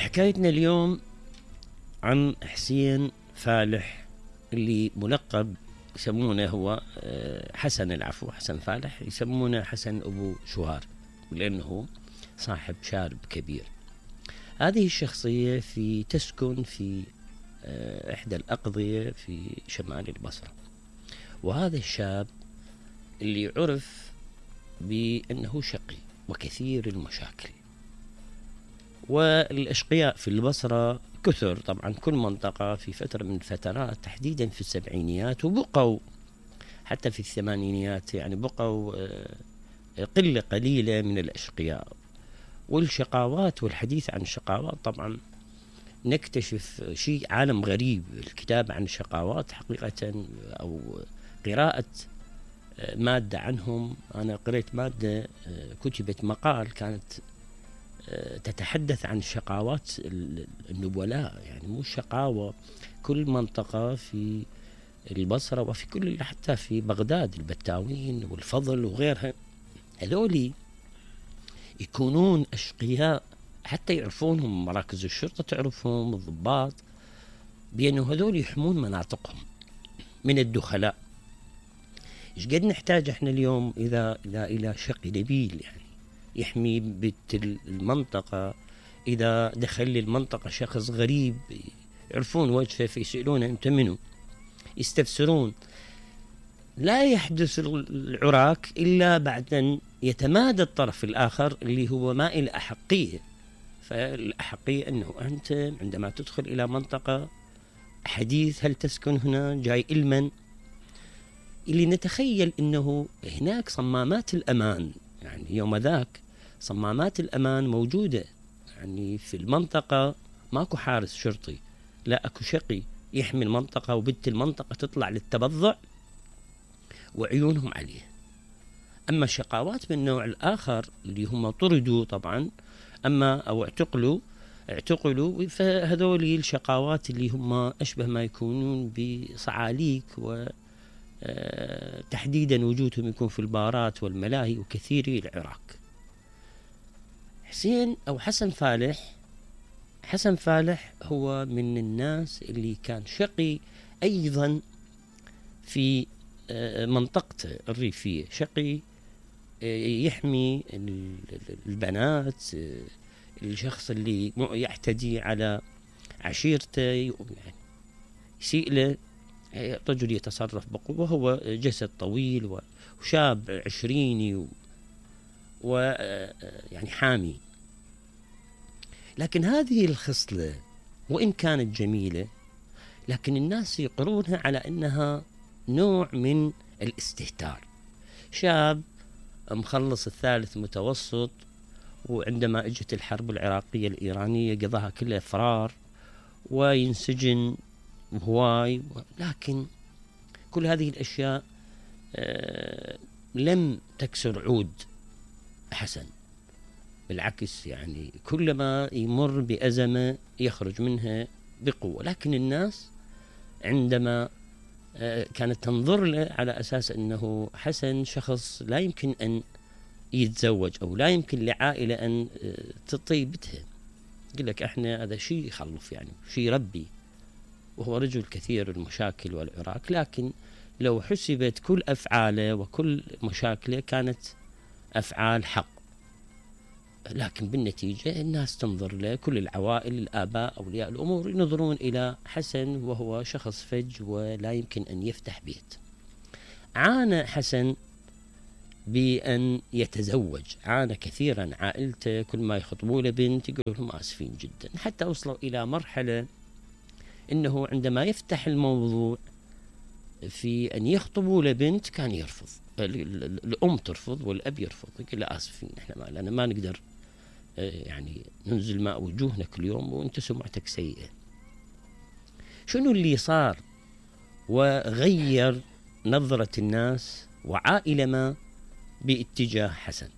حكايتنا اليوم عن حسين فالح اللي ملقب يسمونه هو حسن، العفو، حسن فالح، يسمونه حسن أبو شوهار لأنه صاحب شارب كبير. هذه الشخصية تسكن في إحدى الأقضية في شمال البصرة، وهذا الشاب اللي عرف بأنه شقي وكثير المشاكل، والأشقياء في البصرة كثر طبعا، كل منطقة في فترة من الفترات تحديدا في السبعينيات، وبقوا حتى في الثمانينيات، يعني بقوا قلة قليلة من الأشقياء. والشقاوات والحديث عن الشقاوات طبعا نكتشف شيء عالم غريب. الكتاب عن الشقاوات حقيقة أو قراءة مادة عنهم، أنا قرأت مادة كتبت مقال كانت تتحدث عن شقاوات النبلاء، يعني مو شقاوة، كل منطقة في البصرة وفي كل حتى في بغداد، البتاوين والفضل وغيرها، هذولي يكونون أشقياء حتى يعرفونهم مراكز الشرطة، تعرفهم الضباط بأنه هذول يحمون مناطقهم من الدخلاء. إيش قد نحتاج احنا اليوم إذا إلى شقي نبيل يعني يحمي بيت المنطقة، إذا دخل المنطقة شخص غريب يعرفون وجهه فيسألونه أنت منو، يستفسرون. لا يحدث العراك إلا بعد أن يتمادى الطرف الآخر اللي هو مائل أحقية. فالأحقية أنه أنت عندما تدخل إلى منطقة حديث، هل تسكن هنا، جاي إلمن، اللي نتخيل أنه هناك صمامات الأمان، يعني يوم ذاك صمامات الأمان موجودة، يعني في المنطقة ماكو حارس شرطي، لا أكو شقي يحمي المنطقة، وبنت المنطقة تطلع للتبضع وعيونهم عليه. أما الشقاوات من النوع الآخر اللي هم طردوا طبعا أو اعتقلوا، فهذول الشقاوات اللي هم أشبه ما يكونون بصعاليك، وتحديدا وجودهم يكون في البارات والملاهي وكثيري العراق. حسين أو حسن فالح هو من الناس اللي كان شقي أيضا في منطقته الريفية، شقي يحمي البنات، الشخص اللي يعتدي على عشيرته يعني يسيء له، رجل يتصرف بقوة، وهو جسد طويل وشاب عشريني ويعني حامي. لكن هذه الخصلة وإن كانت جميلة، لكن الناس يقرونها على أنها نوع من الاستهتار. شاب مخلص الثالث متوسط، وعندما اجت الحرب العراقية الإيرانية قضاها كلها فرار وينسجن هواي، لكن كل هذه الأشياء لم تكسر عود حسن، بالعكس يعني كلما يمر بأزمة يخرج منها بقوة. لكن الناس عندما كانت تنظر له على أساس أنه حسن شخص لا يمكن أن يتزوج أو لا يمكن لعائلة أن تطيبتها، يقول لك إحنا هذا شيء يخلف، يعني شيء ربي، وهو رجل كثير المشاكل والعراك. لكن لو حسبت كل أفعاله وكل مشاكله كانت أفعال حق، لكن بالنتيجة الناس تنظر له، كل العوائل، الآباء، أولياء الأمور ينظرون إلى حسن وهو شخص فج ولا يمكن أن يفتح بيت. عانى حسن بأن يتزوج، عانى كثيرا، عائلته كل ما يخطبوا له بنت يقولوا لهم آسفين جدا، حتى وصلوا إلى مرحلة إنه عندما يفتح الموضوع في أن يخطبوا له بنت كان يرفض، الأم ترفض والأب يرفض، يقول له آسفين إحنا أنا ما نقدر يعني ننزل ماء وجوهنا كل يوم وانت سمعتك سيئة. شنو اللي صار وغير نظرة الناس وعائلة ما باتجاه حسن؟